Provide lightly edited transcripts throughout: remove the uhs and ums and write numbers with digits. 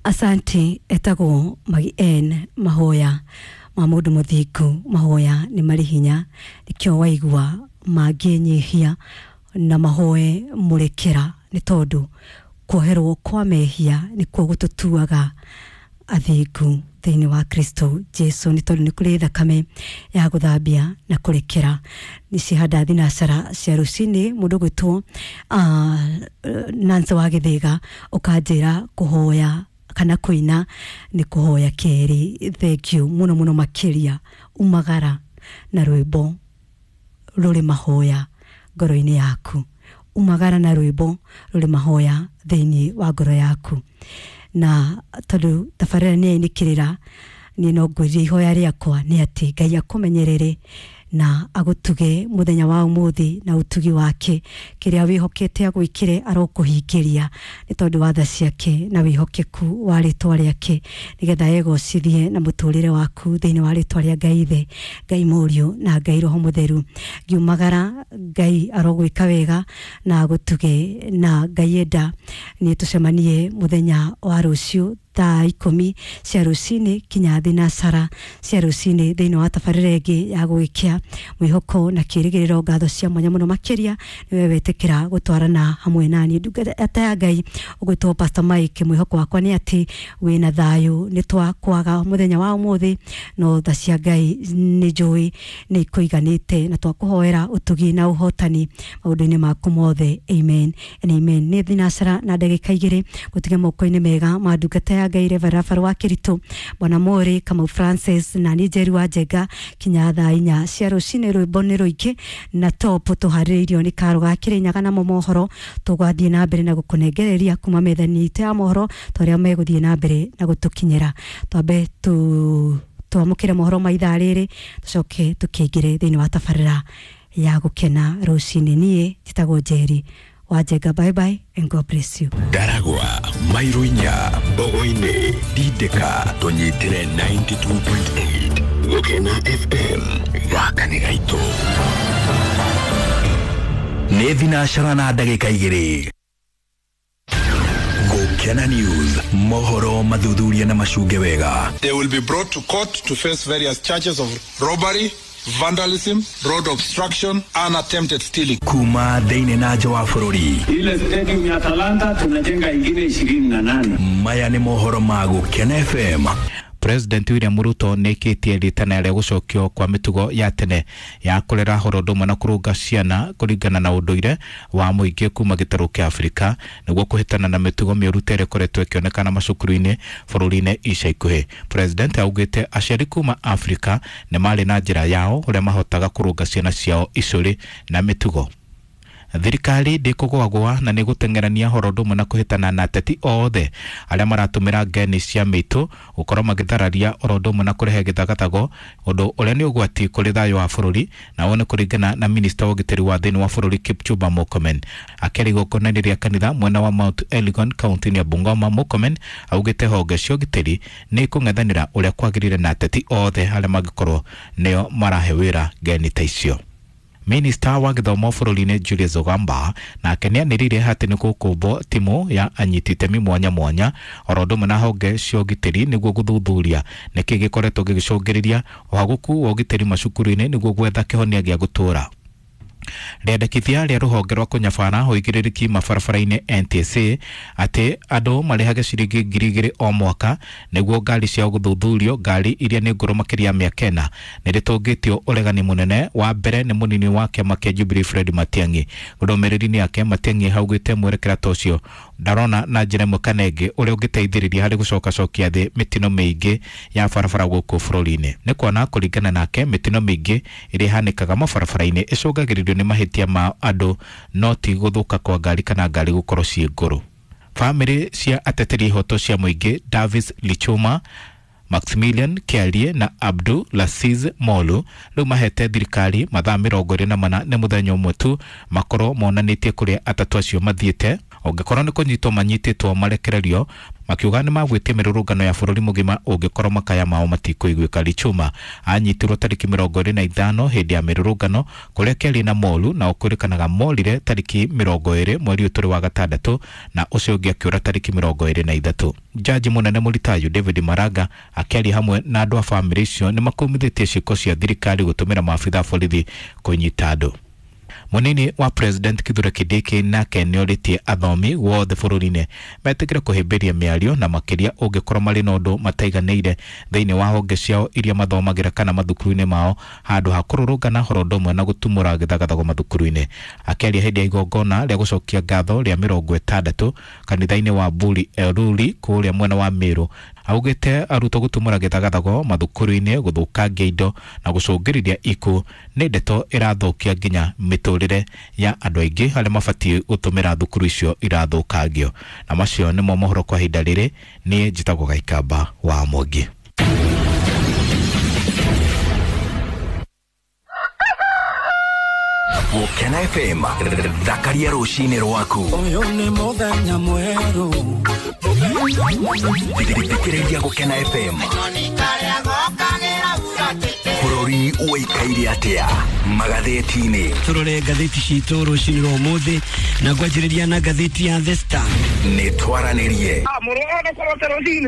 Asante. Etagwo Magi N. Mahoya ma mũndũ mũthingu, mahoya nĩ marĩ hinya, nĩkĩo waigua mangĩnyihia na mahoe mũrekera, nĩ tondũ kuoherwo kwa mehia nĩkuo gũtũtuaga athingu thĩinĩ wa Kristo Jesu, nĩ tondũ nĩ kũrĩ thakame ya gũthambia na kũrekera. Nĩ cihanda thinacara cia rũcinĩ. Mũndũ gwĩtwo Nancy wa Gĩthĩga, ũkanjĩra kũhoya kana kũina nĩ kũhoya kerĩ. Thank you mũno mũno makĩria. Umagara na rwĩmbo rũrĩ mahoya ngoro-inĩ yaku, umagara na rwĩmbo rũrĩ mahoya thĩinĩ wa ngoro yaku. Na tondũ tabarĩra nĩ yainĩkĩrĩra, niĩ no ngwĩrire ihoya rĩakwa nĩ atĩ Ngai akũmenyerere na agũtuge mũthenya wa ũmũthĩ na ũtugi wake. Kĩrĩa wĩhokete agwĩkĩre arokũhingĩria, nĩ tondũ wa tha ciake na wĩhokeku wa rĩtwa rĩake, nĩgetha egocithie na mũtũrĩre waku thĩinĩ wa rĩtwa rĩa Ngai Ithe, Ngai Mũriũ na Ngai Roho Mũtheru. Ngiumagara, Ngai arogwĩka wega na agũtuge, na Ngai enda nĩ tũcemanie mũthenya wa rũciũ thaa 10 cia rũcinĩ kinya thinacara cia rũcinĩ thĩinĩ wa tabarĩra ĩngĩ ya gũgĩkĩa mwĩhoko na kĩrĩgĩrĩro. Ngatho cia mwanya mũno makĩria nĩwe wetĩkĩra gũtwarana hamwe naniĩ, ndungata ya Ngai ũgwĩtwo Pastor Mike. Mwĩhoko wakwa nĩ atĩ wĩna thayũ. Nĩ twakwaga mũthenya wa ũmũthĩ, no tha cia Ngai nĩ njũĩ nĩ ikũiganĩte, na twakũhoera ũtugi na ũhotani maũndũ-inĩ maku mothe. Amen and amen. Nĩ thinacara na ndagĩka 2, gũtige moko-inĩ mega ma ndungata ya Ngai Reverend Rafael wa Kĩritũ, Bwana Mori Kamau Francis, na niĩ Njeri wa Njenga, kinya thaa 4 cia rũcinĩ. Rwĩmbo nĩ rũingĩ na top tũharĩrĩirio nĩ Karo ga Kĩrĩnyaga, namo mohoro tũgathiĩ na mbere na gũkũnengereria kuma metha-inĩ itũ ya mohoro ta ũrĩa megũthiĩ na mbere na gũtũkinyĩra. Twambe tu twamũkĩre mohoro ma ithaa rĩrĩ, tũcoke tũkĩingĩre thĩinĩ wa tabarĩra ya gũkena rũcinĩ. Niĩ njĩtagwo Njeri wa Njenga. Bye bye and God bless you. Ndaragwa, mairo 4, Mbogo-inĩ, Dindĩka, tũnyitĩre 92.8 Gũkena FM. Gaka nĩ gaitũ. Nĩ thinacara na ndagĩka 2. Gũkena News, mohoro mathuthuria na macunge wega. They will be brought to court to face various charges of robbery, vandalism, road obstruction, and attempted stealing. Kuma thĩinĩ na nja wa bũrũri. Ile stadium ya Talanta tunajenga ingine 28. Maya nĩ mohoro ma Gũkena FM. President William Ruto nĩ ĩkĩtie rĩtana rĩa gũcokio kwa mĩtugo ya tene ya kũrera horo ũndũ ũmwe na kũrũnga ciana kũringana na ũndũire wa mũingĩ kuma gĩtarũ kĩa Afrika, nĩguo kũhĩtana na mĩtugo mĩũru ta ĩrĩa ĩkoretwo ĩkĩonekana macukuru-inĩ bũrũri-inĩ ica ikuhĩ. President augĩte aciari kuma Afrika nĩ marĩ na njĩra yao ũrĩa mahotaga kũrũnga ciana ciao icũrĩ na mĩtugo. Thirikari ndĩkũgwagwa na nĩ gũteng'erania horo ũndũ ũmwe na kũhĩtana na ateti othe arĩa maratũmĩra ngeni cia mĩitũ gũkorwo magĩthararia oro ũndũ ũmwe na kũrehe gĩthagathago, ũndũ ũrĩa nĩ ũgwati kũrĩ thayũ wa bũrũri, na ũũ nĩ kũringana na minista wa ũgitĩri wa thĩinĩ wa bũrũri Kipchumba Murkomen. Akĩaria igongona-inĩ rĩa kanitha mwena wa Mount Elgon kaunti-inĩ ya Bungoma, Murkomen augĩte honge cia ũgitĩri nĩ ikũng'ethanĩra ũrĩa kwagĩrĩire na ateti othe arĩa mangĩkorwo nĩo marahe wĩra ngeni ta icio. Minista wa gĩthomo bũrũri-inĩ Julius Ogamba nake nĩ anĩrĩire atĩ nĩ gũkũmbwo timu ya anyiti itemi mwanya mwanya oro ũndũ ũmwe na honge cia ũgitĩri, nĩguo gũthuthuria nĩkĩ gĩkoretwo gĩgĩcũngĩrĩria ũhagũku wa ũgitĩri macukuru-inĩ, nĩguo gwetha kĩhonia gĩa gũtũũra. Rĩandĩkithia rĩa rũhonge rwa kũnyabara ũigĩrĩrĩki mabarabara-inĩ NTSA atĩ andũ marĩhage ciringi 2,000 o mwaka nĩguo ngari ciao gũthuthurio, ngari iria nĩ ngũrũ makĩria ya mĩaka 4, nĩ rĩtũngĩtio ũregani mũnene. Wa mbere nĩ mũnini wa kĩama kĩa Jubilee Fred Matiang'i. Ndũmĩrĩri-inĩ yake, Matiang'i augĩte mwerekera ta ũcio ndarona na njĩra ĩmwe kana ĩngĩ ũrĩa ũngĩteithĩrĩria harĩ gũcokacokia thĩ mĩtino mĩingĩ ya barabara gũkũ bũrũri-inĩ, nĩ kuona kũringana nake mĩtino mĩingĩ ĩrĩa ĩhanĩkaga mabarabara-inĩ ĩcũngagĩrĩrio nĩ mahĩtia ma andũ, no ti gũthũka kwa ngari kana ngari gũkorwo ciĩ ngũrũ. Bamĩrĩ cia ateteri ihoto cia mũingĩ Davis Lichuma, Maximilian Kiarie na Abdu Laziz Molu rĩu mahete thirikari mathaa 24, nĩ mũthenya ũmwe tu, makorwo monanĩtie kũrĩa atatũ acio mathiĩte. Ũngĩkorwo nĩ kũnyitwo manyitĩtwo marekererio, makiuga nĩ magwĩtia mĩrũrũngano ya bũrũri mũgima ũngĩkorwo makaya mao matikũiguĩka. Lichuma anyitirwo tarĩki 25 hĩndĩ ya mĩrũrũngano kũrĩa kĩarĩ na moru na ũkwĩrĩkanaga morire tarĩki 20 mweri ũyũ tũrĩ wa gatandatũ, na ũcio ũngĩ akĩũra tarĩki 23. Jaji mũnene mũritayu David Maraga akĩaria hamwe na andũ a bamĩrĩ icio nĩ makumithĩtie ciĩko cia thirikari gũtũmĩra maabitha a borithi kũnyita andũ. Munini wa President Kithure Kindiki nake nĩorĩtie athomi wothe bũrũri-inĩ metĩkĩre kũhĩmbĩria mĩario na makĩria ũngĩkorwo marĩ na ũndũ mataiganĩire thĩinĩ wa honge ciao iria mathomagĩra kana mathukuru-inĩ mao, handũ ha kũrũrũngana horo ũndũ ũmwe na gũtumũra gĩthagathago mathukuru-inĩ. Akĩaria hĩndĩ ya igongona rĩa gũcokia ngatho rĩa 60 kanitha-inĩ wa Buri Eruri kũrĩa mwena wa Meru, augĩte arutwo gũtumũra gĩthagathago mathukuru-inĩ, gũthũkangia indo na gũcũngĩrĩria ikuũ nĩ ndeto ĩrathũkia nginya mĩtũrĩre ya andũ aingĩ arĩa mabatiĩ gũtũmĩra thukuru icio irathũkangio. Na macio nĩmo mohoro kwa ihinda rĩrĩ. Niĩ njĩtagwo Gaikamba wa Mwangi. Gũkena FM, thakaria rũcinĩ rwaku. Ũyũ nĩ mũthenya mwerũ. Thikĩrĩria Gũkena FM. Bũrũri ũikaire atĩa magathĩti-inĩ? Tũrore ngathĩti citũ rũcinĩ rwa ũmũthĩ na ngwanjĩrĩria na ngathĩti ya The Star. Nĩ twaranĩrie.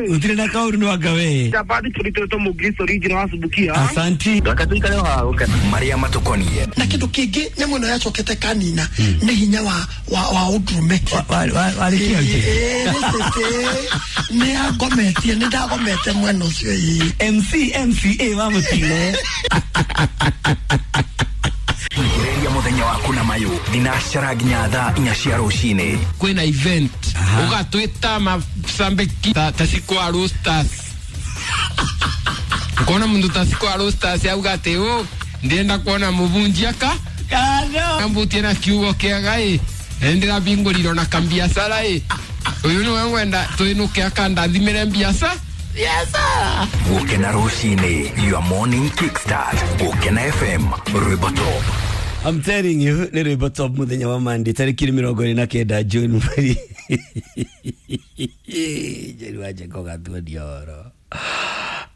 Gũtirĩ na kaũndũ no anga we. Asanti. Marĩa matũkoniĩ. Na kĩndũ kĩngĩ nyamũ ĩno yacokete kanina nĩ hinya wa wa ũndũrũme. Warĩkia Nĩ angometie, nĩ ndagomete mwena ũcio ĩĩ. MC MCA wa mũtino. Thikĩrĩria mũthenya waku na mayũ thinacara nginya thaa 4 cia rũcinĩ. Kwĩna event ũgatwĩta macambĩki ta Cikwa Roasters, ukona mundu ta Cikwa Roasters auga atĩ ũ ndĩrenda kuona mũbunji aka ambutie na kiugo kĩega ĩ ndĩrabingũrirwo na kambiacara ĩ ũyũ nĩwe ngwenda twĩnũke akandathimĩre mbiaca. Gũkena rũcinĩ, your morning kickstart. Gũkena FM, rwĩmbo top. I'm telling you, nĩ rwĩmbo top mũthenya wa Monday tarĩki 29 June mweri Njeri wa Njenga ũgatuonia ũhoro.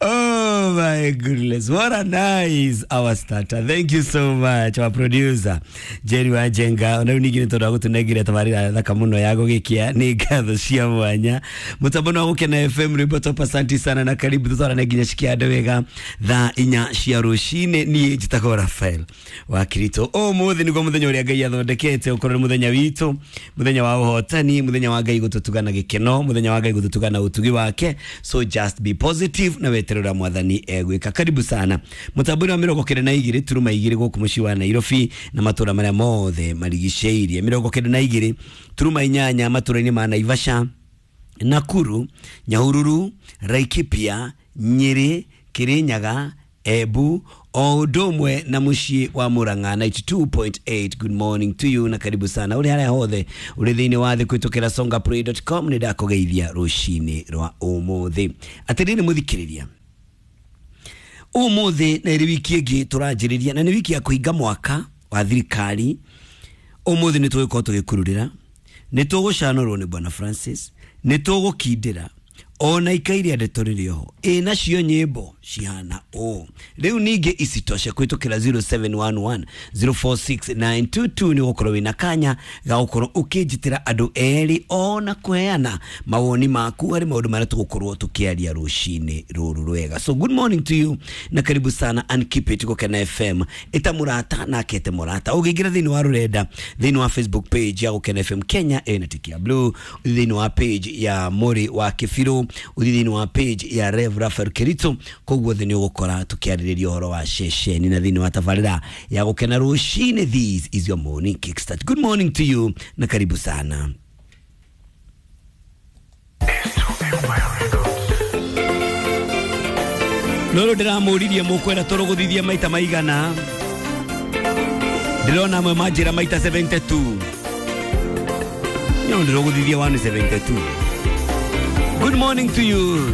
Oh my goodness, what a nice our starter. Thank you so much, our producer Jerry Wanjenga. Ona rĩu ningĩ nĩ tondũ wa gũtũnengera tabarĩra thaka mũno ya gũgĩkia, nĩ ngatho cia mwanya. Mũtambo wa Gũkena FM, rwĩmbo top. Asante sana na karibu tũtwarane nginya cikiande wega thaa 4 cia rũcinĩ. Niĩ njĩtagwo Rafael wa Kirito. Ũmũthĩ nĩguo mũthenya ũrĩa Ngai athondekete ũkorwo nĩ mũthenya witũ, mũthenya wa ũhotani, mũthenya wa Ngai gũtũtuga na gĩkeno, mũthenya wa Ngai gũtũtuga na ũtugi wake. So just be positive na weterera mwathani egwĩka. Karibu sana mũtambo-inĩ wa 92 turuma 2 gũkũ mũciĩ wa Nairobi na matũra marĩa mothe marigicĩirie, 92 turuma 8 matũra-inĩ ma Naivasha, Nakuru, Nyahururu, Laikipia, Nyeri, Kirinyaga, Embu o ũndũ ũmwe na mũciĩ wa Murang'a 92.8. Good morning to you na karibu sana ũrĩ harĩa hothe ũrĩ thĩinĩ wa thĩ kũhĩtũkĩra songaplay.com. Nĩ ndakũgeithia rũcinĩ rwa ũmũthĩ. Atĩrĩrĩ mũthikĩrĩria, ũmũthĩ na ĩrĩ wiki ĩngĩ tũranjĩrĩria na nĩ wiki ya kũhinga mwaka wa thirikari. Ũmũthĩ nĩ tũgũkorwo tũgĩkururĩra, nĩ tũgũcanũrwo nĩ Bwana Francis, nĩ tũgũkindĩra ona ikairia ndeto rĩrĩ oho ĩ nacio nyĩmbo cihana ũũ. Rĩu ningĩ isitoshe kũhĩtũkĩra 0711 046922 nĩ ũgũkorwo wĩna kanya ga gũkorwo ũkĩnjĩtĩra andũ erĩ ona kũheana mawoni maku harĩ maũndũ marĩa tũgũkorwo tũkĩaria rũcinĩ rũrũ rwega. So good morning to you na karibu sana and keep it Gũkena FM. Ĩta mũrata nake ete mũrata. Ũngĩingĩra thĩinĩ wa rũrenda, thĩinĩ wa Facebook page ya Gũkena FM Kenya ĩna tiki ya blue, thĩinĩ wa page ya Mũrĩ wa Kĩbirũ, ũthiĩ thĩinĩ wa page ya Rev Raphael Kirito, koguo thĩ nĩ ũgũkora tũkĩarĩrĩria ũhoro wa ceceni na thĩinĩ wa tabarĩra ya Gũkena rũcinĩ. This is your morning kickstart. Good morning to you na karibu sana. Rũrũ ndĩramũririe mũkwenda tũrũgũthithie maita maigana, ndĩrona amwe manjĩra maita 72. No ndĩrũgũthithie 172. Good morning to you.